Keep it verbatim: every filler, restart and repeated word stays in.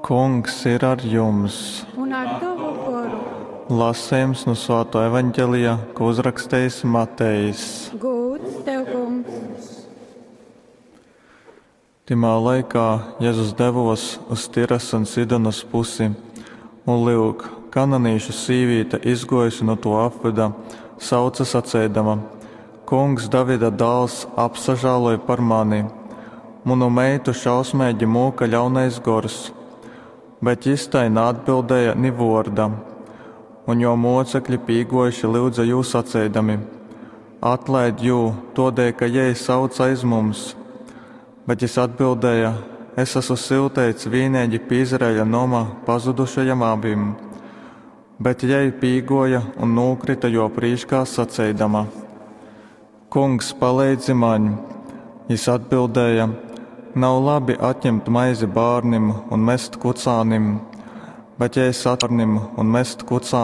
Kungs ir ar jums! Un ar tovu goru. Lasījums no Svāto evaņģelija, ko uzrakstījis Matejs. Gūds tev, kungs! Timā laikā Jēzus devos uz Tiras un Sidonas pusi, un lyuk, kananīšu sīvīte izgojusi no to apvida, sauca sacēdama: Kungs, Davida dāls, apsažāloj par mani! Manu meitu šausmīgi mūka ļaunais gors. Bet jis tai neatbildēja ni vorda. Un jo mocekļi pīgojuši lyudza jū sacēdami: Atlaid jū, todēļ, ka jei sauc aiz mums. Bet jis atbildēja: Es esmu syuteits vienīgi pie Izraēļa noma pazudušajam avim. Bet jei pīgoja un nūkrita jo prīškā sacēdama: Kungs, palīdzi maņ! Jis atbildēja: Nav labi atņemt maizi bārnim un mest kucānim, bet ja es atvarnim un mest kucānim.